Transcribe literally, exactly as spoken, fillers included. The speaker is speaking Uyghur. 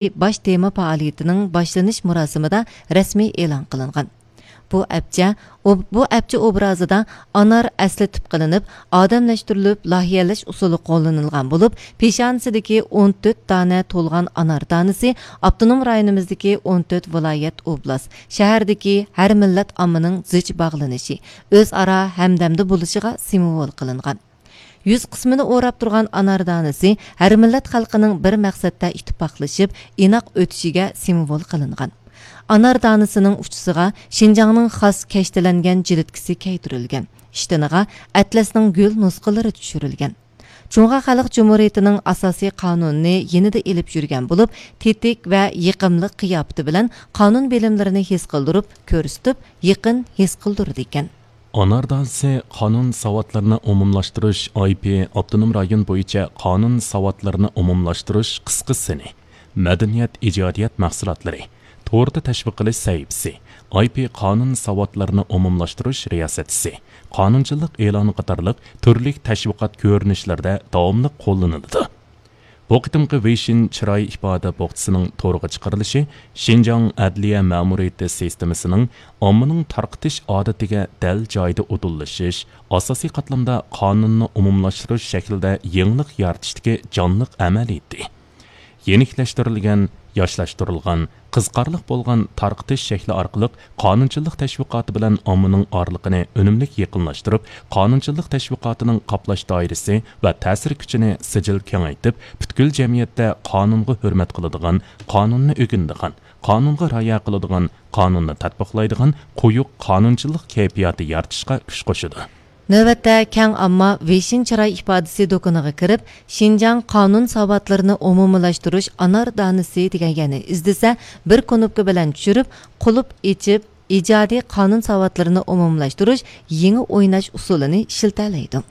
باش تېما پائالىيىتىنىڭ باشلىنىش مۇراسىمىدا رەسمىي ئېلان قىلىنغان. بۇ ئەپچە، ئوب-، بۇ ئەپچە ئوبرازىدا ئانار ئەسلى تىپ قىلىنىپ، ئادەملەشتۈرۈلۈپ، لايىھەلەش ئۇسۇلى قوللىنىلغان بولۇپ، پېشانىسىدىكى ئون تۆت دانە تولغان ئانار دانىسى ئاپتونوم رايونىمىزدىكى ئون تۆت ۋىلايەت، ئوبلاست، شەھەردىكى ھەر مىللەت ئاممىنىڭ زىچ باغلىنىشى، ئۆزئارا ھەمدەمدە بولۇشىغا سىمۋول قىلىنغان. يۈز قىسمىنى ئوراپ تۇرغان ئانار دانىسى ھەر مىللەت خەلقىنىڭ بىر مەقسەتتە ئىتتىپاقلىشىپ، ئىناق ئۆتۈشىگە سىمۋول قىلىنغان. ئانار دانىسىنىڭ ئۇچىسىغا شىنجاڭنىڭ خاس كەشتىلەنگەن جىلىتكىسى كەيدۈرۈلگەن. ئىشتىنىغا ئەتلەسنىڭ گۈل نۇسخىلىرى چۈشۈرۈلگەن. جۇڭخۇا خەلق جۇمھۇرىيىتىنىڭ ئاساسىي قانۇنىنى يېنىدا ئېلىپ يۈرگەن بولۇپ، تېتىك ۋە يېقىملىق قىياپىتى بىلەن قانۇن بىلىملىرىنى ھېس قىلدۇرۇپ، كۆرسىتىپ، يېقىن ھېس قىلدۇرىدىكەن. ئانار دانىسى قانۇن ساۋاتلىرىنى ئومۇملاشتۇرۇش، ئاي پى ئاپتونوم رايون بويىچە قانۇن ساۋاتلىرىنى ئومۇملاشتۇرۇش قىسقا سىنى، مەدەنىيەت ئىجادىيەت مەھسۇلاتلىرى، توردا تەشۋىق قىلىش سەھىپىسى، ئاي پى قانۇن ساۋاتلىرىنى ئومۇملاشتۇرۇش رىياسەتچىسى، قانۇنچىلىق ئېلانى قاتارلىق تۈرلۈك تەشۋىقات كۆرۈنۈشلىرىدە داۋاملىق قوللىنىلىدۇ. بۇ قېتىمقى ۋېيشىن چىراي ئىپادە بوخچىسىنىڭ تورغا چىقىرىلىشى شىنجاڭ ئەدلىيە مەمۇرىيىتى سىستېمىسىنىڭ ئاممىنىڭ تارقىتىش ئادىتىگە دەل جايىدا ئۇدۇللىشىش، ئاساسىي قاتلامدا قانۇننى ئومۇملاشتۇرۇش شەكلىدە يېڭىلىق يارىتىشتىكى جانلىق ئەمەلىيىتى. يېنىكلەشتۈرۈلگەن، ياشلاشتۇرۇلغان، قىزىقارلىق بولغان تارقىتىش شەكلى ئارقىلىق قانۇنچىلىق تەشۋىقاتى بىلەن ئاممىنىڭ ئارىلىقىنى ئۈنۈملۈك يېقىنلاشتۇرۇپ، قانۇنچىلىق تەشۋىقاتىنىڭ قاپلاش دائىرىسى ۋە تەسىر كۈچىنى سىجىل كېڭەيتىپ، پۈتكۈل جەمئىيەتتە قانۇنغا ھۆرمەت قىلىدىغان، قانۇننى ئۆگىنىدىغان، قانۇنغا رىئايە قىلىدىغان، قانۇننى تەتبىقلايدىغان قويۇق قانۇنچىلىق كەيپىياتى يارىتىشقا كۈچ قوشىدۇ. نۆۋەتتە كەڭ ئامما ۋېيشىن چىراي ئىپادىسى دۇكىنىغا كىرىپ، شىنجاڭ قانۇن ساۋاتلىرىنى ئومۇملاشتۇرۇش ئانار دانىسى دېگەن يەرنى ئىزدىسە، بىر كۇنۇپكا بىلەن چۈشۈرۈپ، قۇلۇپ ئېچىپ، ئىجادىي قانۇن ساۋاتلىرىنى ئومۇملاشتۇرۇش يېڭى ئويناش ئۇسۇلىنى ئىشلىتەلەيدۇ.